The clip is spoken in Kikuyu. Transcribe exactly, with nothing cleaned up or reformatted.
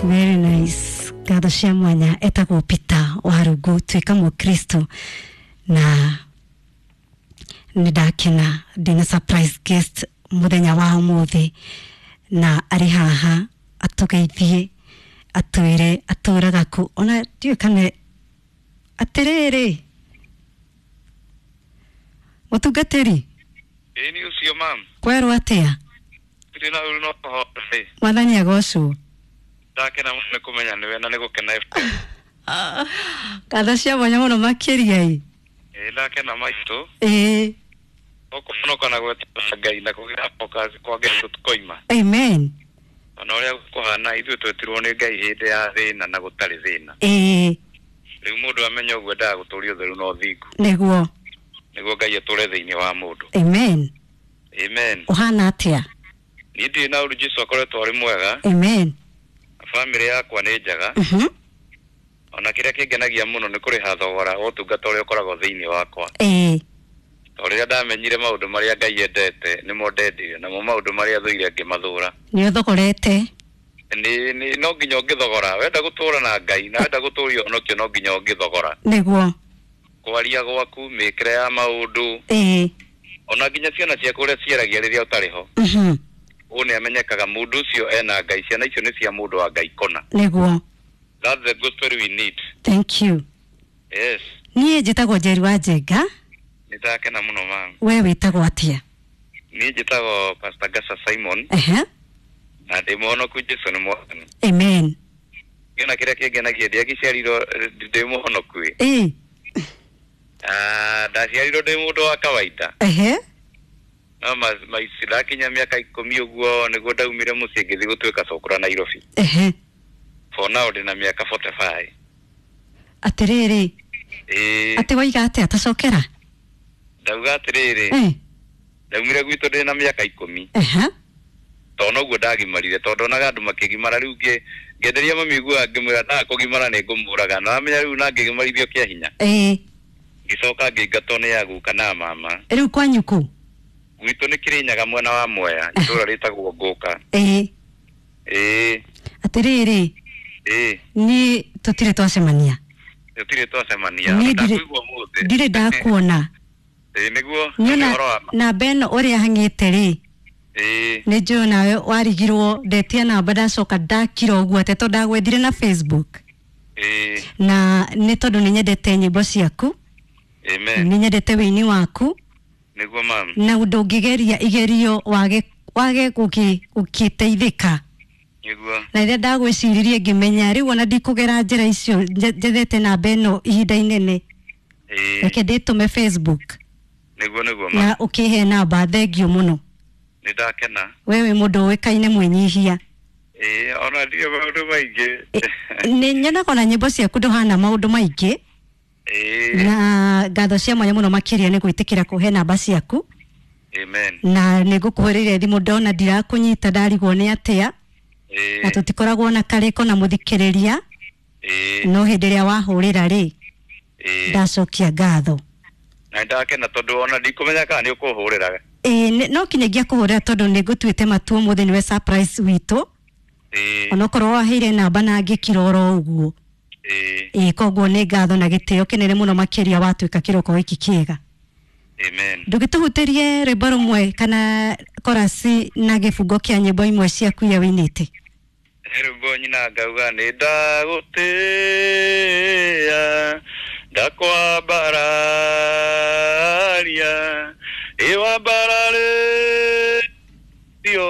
Very nice. Ngatho cia mwanya etagwo Peter Warungu tuĩka mũkristo na nĩ ndakena ndĩna surprise guest mũthenya wa ũmũthĩ na arĩ haha atũgeithie atwĩre atũraga kũ ona ndiũĩ kana atĩrĩrĩ mũtungatĩri. Ĩĩ nĩ ũcio mam. Kwerwo atĩa? Ndĩ na ũru no kũhota. Mwathani agocwo. Ndakena mũno nĩ kũmenya nĩwe na nĩ gũkena. Ngatho cia mwanya mũno makĩria ĩ. Ĩĩ ndakena maitũ. Ĩĩ. Ũkũhonoka na gwetera Ngai na kũgĩa focus kwa Ngai tũtikoima. Amen. Ona ũrĩa kũhana ithuĩ twetirwo nĩ Ngai hĩndĩ ya thĩna na gũtarĩ thĩna. Ĩĩ. Rĩu mũndũ amenya ũguo endaga gũtũria ũtheru na ũthingu. Nĩguo. Nĩguo Ngai atũre thĩinĩ wa mũndũ. Amen. Amen. Ũhana atĩa? Niĩ ndirĩ na ũru, Jesũ akoretwo arĩ mwega. Amen. Bamĩrĩ yakwa nĩ njega. Mhm. Ona kĩrĩa kĩngenagia mũno nĩ kũrĩha thogora wa ũtungata ũrĩa ũkoragwo thĩinĩ wakwa. Ĩĩ. Tondũ rĩrĩa ndamenyire maũndũ marĩa Ngai endete nĩmo ndendire, namo maũndũ marĩa thũire ngĩmathũra. Nĩ ũthogorete. Nĩ nĩ no nginya ũngĩthogora, wenda gũtũra na Ngai na wenda gũtũria ũhonokio no nginya ũngĩthogora. Nĩguo. Kwaria gwaku, mĩkĩre ya maũndũ, Ĩĩ. ona nginya ciana ciaku ũrĩa ciaragia rĩrĩa ũtarĩ ho. Mhm. Ũũ nĩ amenyekaga mũndũ ũcio ena Ngai, ciana icio nĩ cia mũndũ wa Ngai kona. Nĩguo. That's the gospel we need. Thank you. Yes. Niĩ njĩtagwo Njeri wa Njenga. Nĩ ndakena mũno mam. We wĩtagwo atĩa? Niĩ njĩtagwo Pastor Gasa Simon. Ehe. Na ndĩ mũhonoku, Jesũ nĩ mwathani. Amen. Kĩona kĩrĩa kĩngenagia ndiagĩciarirwo ndĩ mũhonoku ĩ. Ĩĩ. Ah, ndaciarirwo ndĩ mũndũ wa kawaida. Ehe. No maici ndakinya mĩaka ikũmi ũguo nĩguo ndaumire mũciĩ ngĩthiĩ gũtuĩka cũkũra Nairobi. Ehe. For now ndĩna mĩaka forty five. Atĩrĩrĩ. Ĩĩ. Atĩ waiga atĩa tacokera? Ndauga atĩrĩrĩ. Ĩĩ. Ndaumire gwitũ ndĩna mĩaka ikũmi. Ehe. Tondũ noguo ndagimarire tondũ ndonaga andũ makĩgimara rĩu ngĩ ngenderia mami ũguo ngĩmwĩra ndaga kũgimara nĩ ngũmũraga na wamenya rĩu na ngĩgimarithio kĩa hinya. Ĩĩ. Ngĩcoka ngĩingatwo nĩ aguka na mama. Rĩu kwanyu kũ? Gwitũ nĩ Kĩrĩnyaga mwena wa Mwea, itũũra rĩtagwo Ngũka. Ĩĩ. Ĩĩ. Atĩrĩrĩ. Ĩĩ. Niĩ tũtirĩ twacemania. Tũtirĩ twacemania. Niĩ Ndakũigua ũmũthĩ. ndirĩ ndakuona. Ĩĩ nĩguo. Niĩ Ũhoro wa ma. namba ĩno ũrĩa hang'ĩte rĩ. Ĩĩ. Nĩ njũĩ nawe warigirwo ndetia namba ndacoka ndakira ũguo atĩ tondũ ndagwethire na Facebook. Ĩĩ. Na nĩ tondũ nĩ nyendete nyĩmbo ciaku. Amen. Nĩ nyendete wĩini waku. Nĩguo mam. Na ndũngĩgeria igerio wage wage gũkĩ gũkĩteithĩka. Nĩguo. Na rĩrĩa ndagwĩciririe ngĩmenya rĩu ona ndikũgera njĩra icio njethete namba ĩno ihinda inene. Ĩĩ. Reke ndĩtũme Facebook. Nĩguo nĩguo mam. Na ũkĩhe namba thengio mũno. Nĩ ndakena. We wĩ mũndũ ũĩkaine mwĩnyihia. Ĩĩ ona ndirĩ maũndũ maingĩ. Nĩ nyonaga ona nyĩmbo ciaku ndũhana maũndũ maingĩ. Ĩĩ. Na ngatho cia mwanya mũno makĩria nĩ gwĩtĩkĩra kũhe namba ciaku. Amen. Na nĩ ngũkũhũrĩire thimũ ndona ndirakũnyita ndarigwo nĩ atĩa. Ĩĩ. Na tũtikoragwo na karĩko na mũthikĩrĩria. Ĩĩ. No hĩndĩ ĩrĩa wahũrĩra rĩ. Ĩĩ. Ndacokia ngatho. Na ndakena tondũ ona ndikũmenya kana nĩ ũkũhũrĩra. Ĩĩ no kinyagia kũhũrĩra tondũ nĩ ngũtuĩte matua ũmũthĩ nĩwe surprise witũ. Ĩĩ. Onokorwo waheire namba na ngĩkira oro ũguo. Ĩĩ. Ĩĩ koguo nĩ ngatho na gĩtĩo kĩnene mũno makĩria watuĩka kĩroko gĩkĩ kĩega. Amen. Ndũgĩtũhutĩrie rwĩmbo rũmwe kana korasi na gĩbungo kĩa nyĩmbo imwe ciaku iria wĩinĩte. He rwĩmbo nyina ngauga nĩ ndagũtĩĩa ndakwambararia ĩ wambararĩtio.